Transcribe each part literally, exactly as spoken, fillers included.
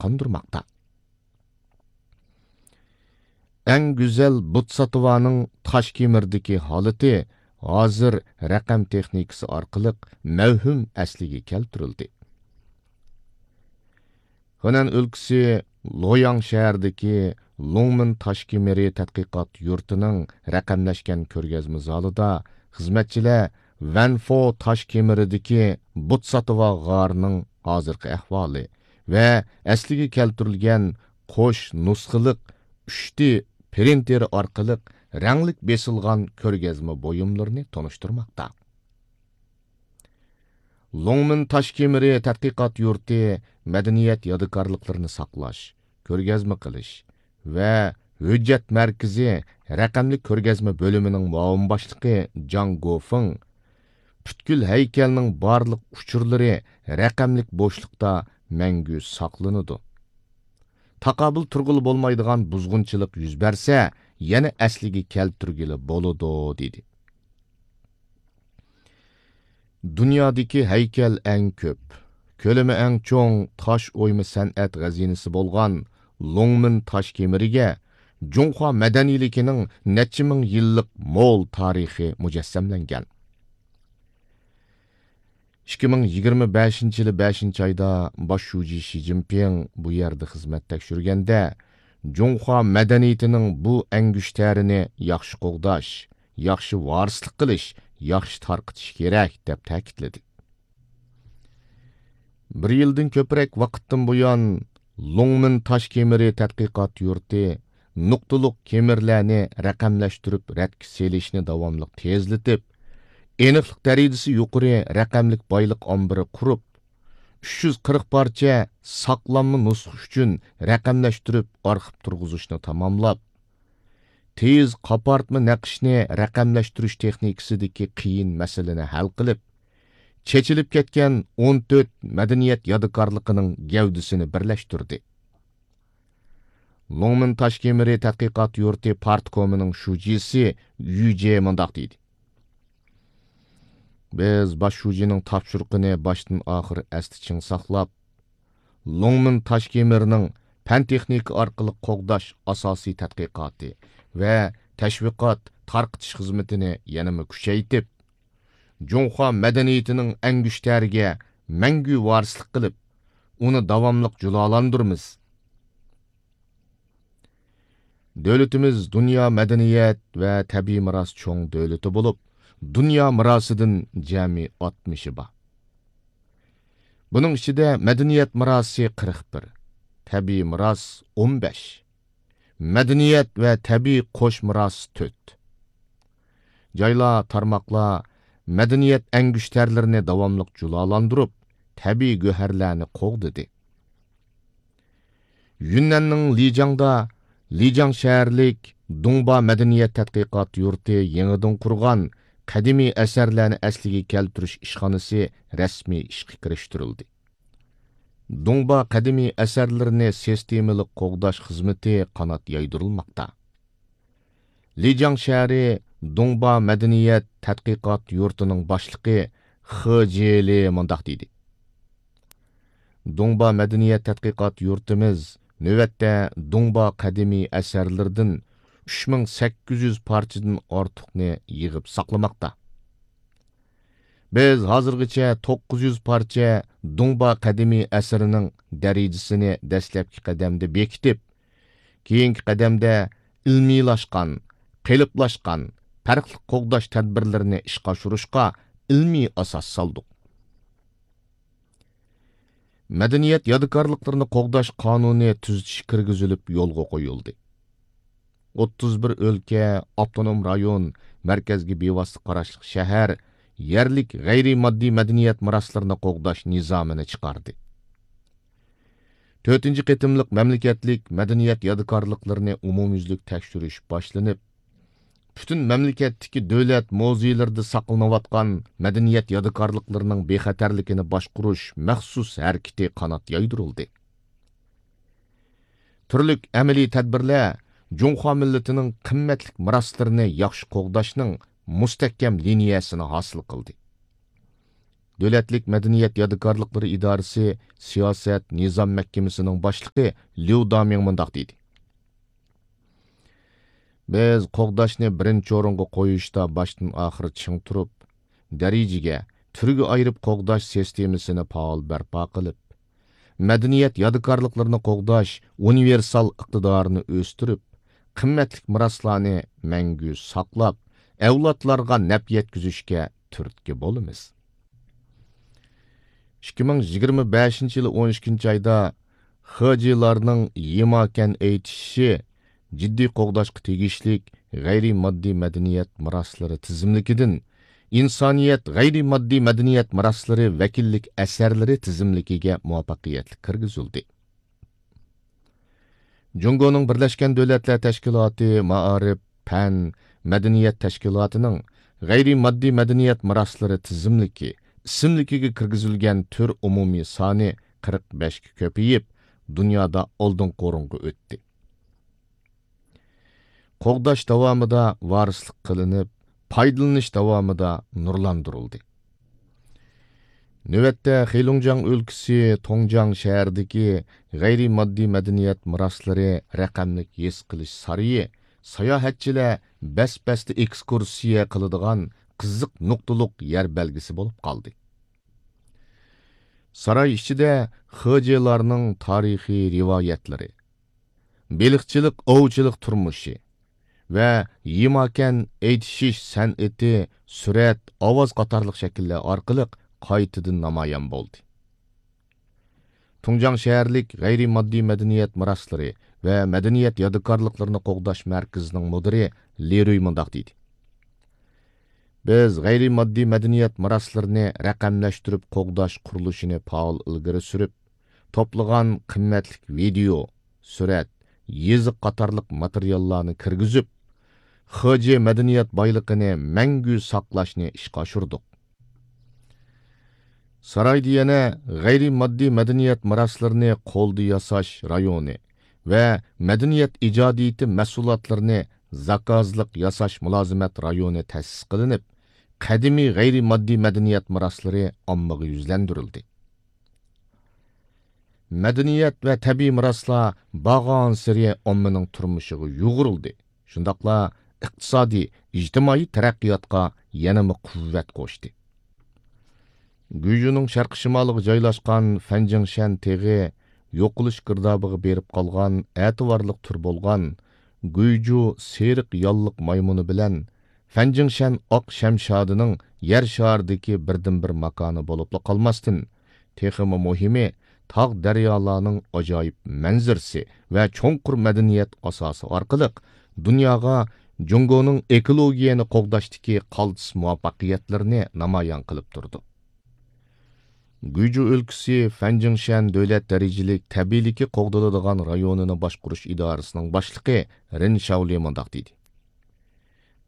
قاندۇرماقتا. ئەڭ گۈزەل بوتساتوۋانىڭ تاشكېمىردىكى ھالىتى ھازىر رەقەم تېخنىكىسى ئارقىلىق مەۋھۇم ئەسلىگە كەلتۈرۈلدى. خېنەن ئۆلكىسى لوياڭ شەھىرىدىكى لوڭمىن تاشكېمىرى تەتقىقات يۇرتىنىڭ رەقەملەشكەن كۆرگەزمە زالىدا خىزمەتچىلەر ۋەنفو تاشكېمىرىدىكى بوتساتوۋا غارىنىڭ ھازىرقى ئەھۋالى ۋە ئەسلىگە كەلتۈرۈلگەن قوش نۇسخىلىق ئۈچ دى پرىنتېرى ئارقىلىق رەڭلىك بېسىلغان كۆرگەزمە بۇيۇملىرىنى تونۇشتۇرماقتا. لوڭمىن تاشكېمىرى تەتقىقات يۇرتى مەدەنىيەت يادىكارلىقلىرىنى ساقلاش، كۆرگەزمە قىلىش ۋە ھۆججەت مەركىزى رەقەملىك كۆرگەزمە بۆلۈمىنىڭ مۇئاۋىن باشلىقى جاڭ گوفېڭ، پۈتكۈل ھەيكەلنىڭ بارلىق ئۇچۇرلىرى رەقەملىك بوشلۇقتا مەڭگۈ ساقلىنىدۇ. تاقابىل تۇرغىلى بولمايدىغان بۇزغۇنچىلىق يۈز بەرسە، يەنە ئەسلىگە كەلتۈرگىلى بولىدۇ، دېدى. دۇنيادىكى ھەيكەل ئەڭ كۆپ، كۆلىمى ئەڭ چوڭ تاش ئويما سەنئەت غەزىنىسى بولغان لوڭمىن تاش كېمىرىگە جۇڭخۇا مەدەنىيلىكىنىڭ نەچچە مىڭ يىللىق مول تارىخى مۇجەسسەملەنگەن. ئىككى مىڭ يىگىرمە بەشىنچى يىلى بەشىنچى ئايدا باش شۇجى شى جىنپىڭ بۇ يەردە خىزمەت تەكشۈرگەندە، جۇڭخۇا مەدەنىيىتىنىڭ بۇ ئەڭگۈشتەرىنى ياخشى قوغداش، ياخشى ۋارىسلىق قىلىش، ياخشى تارقىتىش كېرەك، دەپ تەكىتلىدى. بىر يىلدىن كۆپرەك ۋاقىتتىن بۇيان، لوڭمىن تاش كېمىرى تەتقىقات يۇرتى نۇقتىلىق كېمىرلەرنى رەقەملەشتۈرۈپ رەتكە سېلىشنى داۋاملىق تېزلىتىپ، ئېنىقلىق دەرىجىسى يۇقىرى رەقەملىك بايلىق ئامبىرى قۇرۇپ، ئۈچ يۈز قىرىق پارچە ساقلانما نۇسخا ئۈچۈن رەقەملەشتۈرۈپ ئارخىپ تۇرغۇزۇشنى تاماملاپ، تېيىز قاپارتما نەقىشنى رەقەملەشتۈرۈش تېخنىكىسىدىكى قىيىن مەسىلىنى ھەل قىلىپ، چېچىلىپ كەتكەن ئون تۆت مەدەنىيەت يادىكارلىقىنىڭ گەۋدىسىنى بىرلەشتۈردى. لوڭمىن تاش كېمىرى تەتقىقات يۇرتى پارتكومىنىڭ شۇجىسى يۈ جې مۇنداق دېدى: بىز باش شۇجىنىڭ تاپشۇرۇقىنى باشتىن ئاخىر ئەستە چىڭ ساقلاپ، لوڭمىن تاش كېمىرىنىڭ پەن تېخنىكا ئارقىلىق قوغداش ئاساسىي تەتقىقاتى ۋە تەشۋىقات تارقىتىش خىزمىتىنى يەنىمۇ كۈچەيتىپ، جۇڭخۇا مەدەنىيىتىنىڭ ئەڭگۈشتەرىگە مەڭگۈ ۋارىسلىق قىلىپ، ئۇنى داۋاملىق جۇلالاندۇرىمىز. دۆلىتىمىز دۇنيا مەدەنىيەت ۋە تەبىئىي مىراس چوڭ دۆلىتى بولۇپ، دۇنيا مىراسىدىن جەمئىي ئاتمىشى بار. بۇنىڭ ئىچىدە مەدەنىيەت مىراسى قىرىق بىر، تەبىئىي مىراس ئون بەش، مەدەنىيەت ۋە تەبىئىي قوش مىراس تۆت. جايلار، تارماقلار مەدەنىيەت ئەڭگۈشتەرلىرىنى داۋاملىق جۇلالاندۇرۇپ، تەبىئىي گۆھەرلەرنى قوغدىدى. يۈننەننىڭ لىجاڭدا لىجاڭ شەھەرلىك دۇڭبا مەدەنىيەت تەتقىقات يۇرتى يېڭىدىن قۇرغان قەدىمىي ئەسەرلەرنى ئەسلىگە كەلتۈرۈش ئىشخانىسى رەسمىي ئىشقا كىرىشتۈرۈلدى. دۇڭبا قەدىمىي ئەسەرلىرىنى سىستېمىلىق قوغداش خىزمىتى قانات يايدۇرۇلماقتا. لىجاڭ شەھىرى دۇڭبا مەدەنىيەت تەتقىقات يۇرتىنىڭ باشلىقى خې جيېلى مۇنداق دېدى: دۇڭبا مەدەنىيەت تەتقىقات يۇرتىمىز نۆۋەتتە دۇڭبا قەدىمىي ئەسەرلىرىدىن ئۈچ مىڭ سەككىز يۈز پارچىدىن ئارتۇقنى يىغىپ ساقلىماقتا. بىز ھازىرغىچە توققۇز يۈز پارچە دۇڭبا قەدىمىي ئەسىرىنىڭ دەرىجىسىنى دەسلەپكى قەدەمدە بېكىتىپ، كېيىنكى قەدەمدە ئىلمىيلاشقان، قېلىپلاشقان، پەرقلىق قوغداش تەدبىرلىرىنى ئىشقا ئاشۇرۇشقا ئىلمىي ئاساس سالدۇق. مەدەنىيەت يادىكارلىقلىرىنى قوغداش قانۇنى تۈزىتىش كىرگۈزۈلۈپ يولغا قويۇلدى. ئوتتۇز بىر ئۆلكە، ئاپتونوم رايون، مەركەزگە بىۋاسىتە قاراشلىق شەھەر يەرلىك غەيرىي ماددىي مەدەنىيەت مىراسلىرىنى قوغداش نىزامىنى چىقاردى. تۆتىنچى قېتىملىق مەملىكەتلىك مەدەنىيەت يادىكارلىقلىرىنى ئومۇميۈزلۈك تەكشۈرۈش باشلىنىپ، پۈتۈن مەملىكەتتىكى دۆلەت مۇزېيلىرىدا ساقلىنىۋاتقان مەدەنىيەت يادىكارلىقلىرىنىڭ بىخەتەرلىكىنى باشقۇرۇش مەخسۇس ھەرىكىتى قانات يايدۇرۇلدى. تۈرلۈك ئەمەلىي تەدبىرلەر جۇڭخۇا مىللىتىنىڭ قىممەتلىك مىراسلىرىنى ياخشى قوغداشنىڭ مۇستەھكەم لىنىيەسىنى ھاسىل قىلدى. دۆلەتلىك مەدەنىيەت يادىكارلىقلىرى ئىدارىسى سىياسەت، نىزام مەھكىمىسىنىڭ باشلىقى ليۇ دامىڭ مۇنداق دېدى: بىز قوغداشنى بىرىنچى ئورۇنغا قويۇشتا باشتىن ئاخىر چىڭ تۇرۇپ، دەرىجىگە، تۈرگە ئايرىپ قوغداش سىستېمىسىنى پائال بەرپا قىلىپ، مەدەنىيەت يادىكارلىقلىرىنى قوغداش ئۇنىۋېرسال ئىقتىدارىنى ئۆستۈرۈپ، قىممەتلىك مىراسلارنى مەڭگۈ ساقلاپ، ئەۋلادلارغا نەپ يەتكۈزۈشكە تۈرتكە بولىمىز. ئىككى مىڭ يىگىرمە بەشىنچى يىلى ئون ئىككىنچى ئايدا خېجېلارنىڭ يىماكەن ئېيتىشى جىددىي قوغداشقا تېگىشلىك غەيرىي ماددىي مەدەنىيەت مىراسلىرى تىزىملىكىدىن ئىنسانىيەت غەيرىي ماددىي مەدەنىيەت مىراسلىرى ۋەكىللىك ئەسەرلىرى تىزىملىكىگە مۇۋەپپەقىيەتلىك كىرگۈزۈلدى. جۇڭگونىڭ بىرلەشكەن دۆلەتلەر تەشكىلاتى مائارىپ، پەن، مەدەنىيەت تەشكىلاتىنىڭ غەيرىي ماددىي مەدەنىيەت مىراسلىرى تىزىملىكى ئىسىملىكىگە كىرگۈزۈلگەن تۈر ئومۇمىي سانى قىرىق بەشكە كۆپىيىپ، دۇنيادا ئالدىنقى ئورۇنغا ئۆتتى. قوغداش داۋامىدا ۋارىسلىق قىلىنىپ، پايدىلىنىش داۋامىدا نۇرلاندۇرۇلدى. نۆۋەتتە خېلۇڭجياڭ ئۆلكىسى تۇڭجياڭ شەھىرىدىكى غەيرىي ماددىي مەدەنىيەت مىراسلىرى رەقەملىك ھېس قىلىش سارىيى ساياھەتچىلەر بەس-بەستە ئېكسكۇرسىيە قىلىدىغان قىزىق نۇقتىلىق يەر بەلگىسى بولۇپ قالدى. ساراي ئىچىدە خېجېلارنىڭ تارىخىي رىۋايەتلىرى، بېلىقچىلىق، ئوۋچىلىق تۇرمۇشى ۋە يىماكەن ئېيتىشىش سەنئىتى، سۈرەت، ئاۋاز قاتارلىق شەكىللەر ئارقىلىق قايتىدىن نامايان بولدى. تۇڭجاڭ شەھەرلىك غەيرىي ماددىي مەدەنىيەت مىراسلىرى ۋە مەدەنىيەت يادىكارلىقلىرىنى قوغداش مەركىزىنىڭ مۇدىرى لى رۇي مۇنداق دېدى: بىز غەيرىي ماددىي مەدەنىيەت مىراسلىرىنى رەقەملەشتۈرۈپ قوغداش قۇرۇلۇشىنى پائال ئىلگىرى سۈرۈپ، توپلىغان قىممەتلىك ۋىدېئو، سۈرەت، يېزىق قاتارلىق ماتېرىياللارنى كىرگۈزۈپ، خېجې مەدەنىيەت بايلىقىنى مەڭگۈ ساقلاشنى ئىشقا ئاشۇردۇق. سارايدا يەنە غەيرىي ماددىي مەدەنىيەت مىراسلىرىنى قولدا ياساش رايونى ۋە مەدەنىيەت ئىجادىيىتى مەھسۇلاتلىرىنى زاكازلىق ياساش مۇلازىمەت رايونى تەسىس قىلىنىپ، قەدىمىي غەيرىي ماددىي مەدەنىيەت مىراسلىرى ئاممىغا يۈزلەندۈرۈلدى. مەدەنىيەت ۋە تەبىئىي مىراسلار بارغانسېرى ئاممىنىڭ تۇرمۇشىغا يۇغۇرۇلدى، شۇنداقلا ئىقتىسادىي، ئىجتىمائىي تەرەققىياتقا يەنىمۇ قۇۋۋەت قوشتى. گۇيجۇنىڭ شەرقىي شىمالىغا جايلاشقان فەنجىڭشەن تېغى يوقىلىش گىردابىغا بېرىپ قالغان ئەتىۋارلىق تۈر بولغان گۇيجۇ سېرىق ياللىق مايمۇنى بىلەن فەنجىڭشەن ئاق شەمشادىنىڭ يەر شارىدىكى بىردىنبىر ماكانى بولۇپلا قالماستىن، تېخىمۇ مۇھىمى، تاغ دەريالارنىڭ ئاجايىپ مەنزىرىسى ۋە چوڭقۇر مەدەنىيەت ئاساسى ئارقىلىق دۇنياغا جۇڭگونىڭ ئېكولوگىيەنى قوغداشتىكى قالتىس مۇۋەپپەقىيەتلىرىنى نامايان قىلىپ تۇرىدۇ. گۇيجۇ ئۆلكىسى فەنجىڭشەن دۆلەت دەرىجىلىك تەبىئىيلىكى قوغدىلىدىغان رايونىنى باشقۇرۇش ئىدارىسىنىڭ باشلىقى رېن شاۋلى مۇنداق دېدى: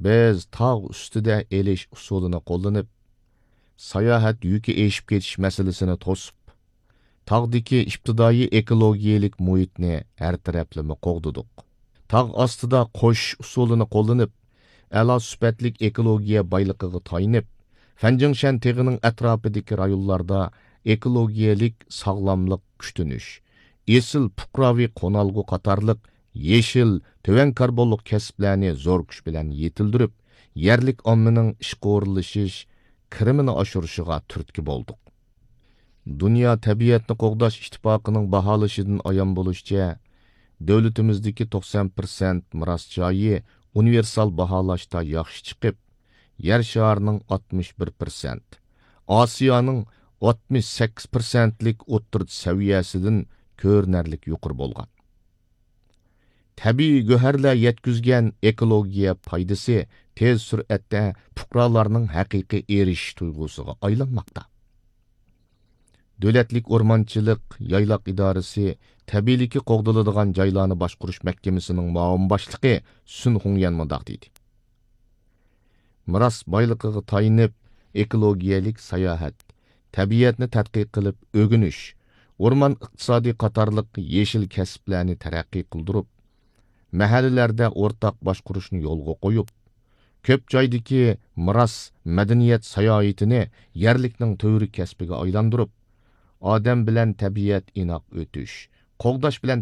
بىز تاغ ئۈستىدە ئېلىش ئۇسۇلىنى قوللىنىپ، ساياھەت يۈكى ئېشىپ كېتىش مەسىلىسىنى توسۇپ، تاغدىكى ئىپتىدائىي ئېكولوگىيەلىك مۇھىتنى ھەر تەرەپلىمە قوغدىدۇق. تاغ ئاستىدا قوشۇش ئۇسۇلىنى قوللىنىپ، ئەلا سۈپەتلىك ئېكولوگىيە بايلىقىغا تايىنىپ، فەنجىڭشەن تېغىنىڭ ئەتراپىدىكى رايونلاردا ئېكولوگىيەلىك ساغلاملىق كۈتۈنۈش، ئېسىل پۇقراۋى قونالغۇ قاتارلىق يېشىل، تۆۋەن كاربونلۇق كەسىپلەرنى زور كۈچ بىلەن يېتىلدۈرۈپ، يەرلىك ئاممىنىڭ ئىشقا ئورۇنلىشىش، كىرىمىنى ئاشۇرۇشىغا تۈرتكە بولدۇق. دۇنيا تەبىئەتنى قوغداش ئىتتىپاقىنىڭ باھالىشىدىن ئايان بولۇشىچە، دۆلىتىمىزدىكى توقسان پىرسەنت مىراس جايى ئۇنىۋېرسال باھالاشتا ياخشى چىقىپ، يەر شارىنىڭ ئاتمىش بىر پىرسەنت، ئاسىيانىڭ ئاتمىش سەككىز پىرسەنتلىك ئوتتۇرا سەۋىيەسىدىن كۆرۈنەرلىك يۇقىرى بولغان. تەبىئىي گۆھەرلەر يەتكۈزگەن ئېكولوگىيە پايدىسى تېز سۈرئەتتە پۇقرالارنىڭ ھەقىقىي ئېرىشىش تۇيغۇسىغا ئايلانماقتا. دۆلەتلىك ئورمانچىلىق يايلاق ئىدارىسى تەبىئىيلىكى قوغدىلىدىغان جايلارنى باشقۇرۇش مەھكىمىسىنىڭ مۇئاۋىن باشلىقى سۈن خۇڭيەن مۇنداق دېدى: مىراس بايلىقىغا تايىنىپ، ئېكولوگىيەلىك ساياھەت، تەبىئەتنى تەتقىق قىلىپ ئۆگىنىش، ئورمان ئىقتىسادى قاتارلىق يېشىل كەسىپلەرنى تەرەققىي قىلدۇرۇپ، مەھەللىلەردە ئورتاق باشقۇرۇشنى يولغا قويۇپ، كۆپ جايدىكى مىراس، مەدەنىيەت ساياھىتىنى يەرلىكنىڭ تۈۋرۈك كەسپىگە ئايلاندۇرۇپ، ئادەم بىلەن تەبىئەت ئىناق ئۆتۈش، قوغداش بىلەن